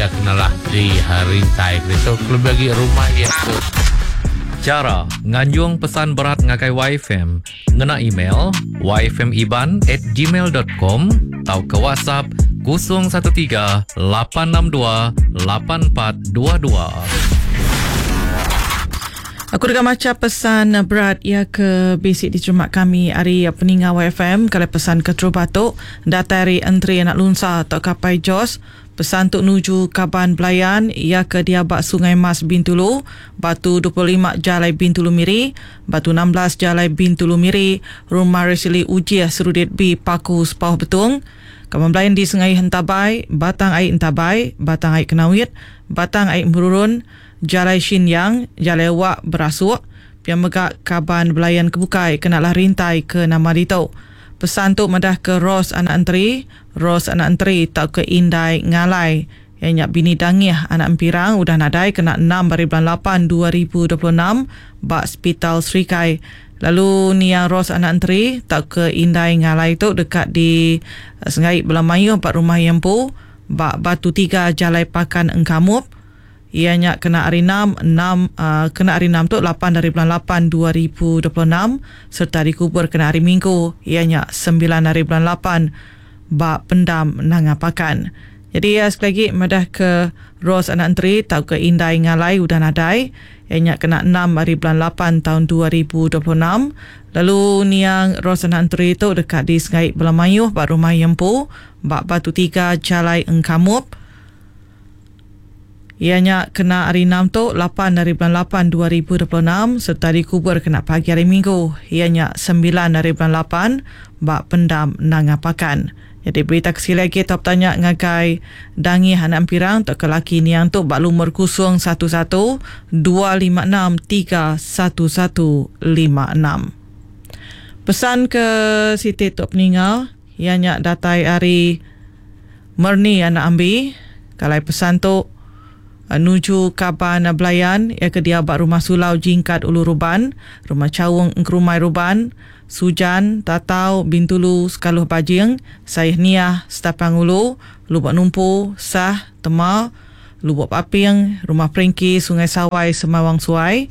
iya kenalah di rintai ke ditu kelebih agi rumah iya ke Chara nganjung pesan berat ngagai YFM ngena email yfmiban at gmail dot com tauka WhatsApp 013 862 8422. Aku deka macha pesan berat iya ke bisi diterima kami ari peninga YFM kala pesan keterubah tu datai ari Entri Anak Lunsa tauka Apai Jos. Pesan tu nuju kaban belayan iya ke diau ba Sungai Mas Bintulu, Batu 25 Jalai Bintulu Miri, Batu 16 Jalai Bintulu Miri, Rumah Resili Ujih Serudit B Paku Sepauh Betong. Kaban belayan di Sengaih Entabai, Batang Ai Entabai, Batang Ai Kenawit, Batang Ai Merurun, Jalai Shin Yang, Jalai Wak Berasuk, pia mega kaban belayan ke bukai kena lah rintai ke nama ditu. Pesan tu madah ke Rose anak Enteri, Rose anak Enteri tauka Indai Ngalai, iya nya bini Dangih anak Empirang udah nadai kena enam ari bulan lapan 2026 ba Sepital Serikai. Lalu niang Rose anak Enteri tauka Indai Ngalai tu deka di senggai bala mayuh ba rumah iya empu ba Batu Tiga Jalai Pakan Engkamup. Iya nya kena hari enam, enam, kena hari enam tu lapan ari bulan lapan 2026 sereta dikubur kena hari Minggu iya nya sembilan ari bulan lapan ba Pendam Nanga Pakan. Jadi iya sekali agi madah ke Rose anak Enteri tauka Indai Ngalai udah nadai iya nya kena enam ari bulan lapan taun 2026 lalu niang Rose anak Enteri tu deka disengai bala mayuh ba rumah iya empu ba Batu Tiga Jalai Engkamup. Iya nya kena hari Enam tu, lapan ari bulan lapan 2026 sereta dikubur kena pagi hari Minggu, iya nya sembilan ari bulan lapan ba Pendam Nanga Pakan. Nyadi berita ke sekali agi tau betanya ngagai Dangih anak Empirang tauka laki niang tu ba lumur 011 256 31156. Pesan ke siti tu peninga iya nya datai ari Merni anak Ambi. Kalai pesan tu nuju kaban belayan iya ke diau ba Rumah Sulau Jingkat Ulu Ruban, Rumah Chaung Engkerumai Ruban, Sujan, Tatau, Bintulu, Sekaluh Bajing, Sayeh Niah, Setapang Ulu, Lubok Numpu, Sah, Tema, Lubok Paping, Rumah Peringki, Sungai Sawai, Semawang Suai.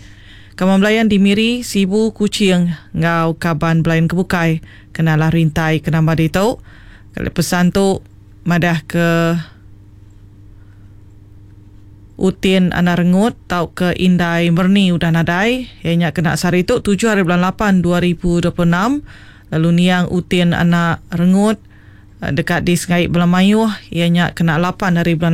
Kaban belayan di Miri, Sibu, Kuching enggau kaban belayan ke bukai kenalah rintai ke nambah ditu. Kali pesan tu madah ke Utin Anak Rengut tauka Indai Merni udah nadai, iya nya kena sehari tu tujuh hari bulan lapan 2026 lalu niang Utin Anak Rengut deka disengai bala mayuh iya nya kena lapan hari bulan.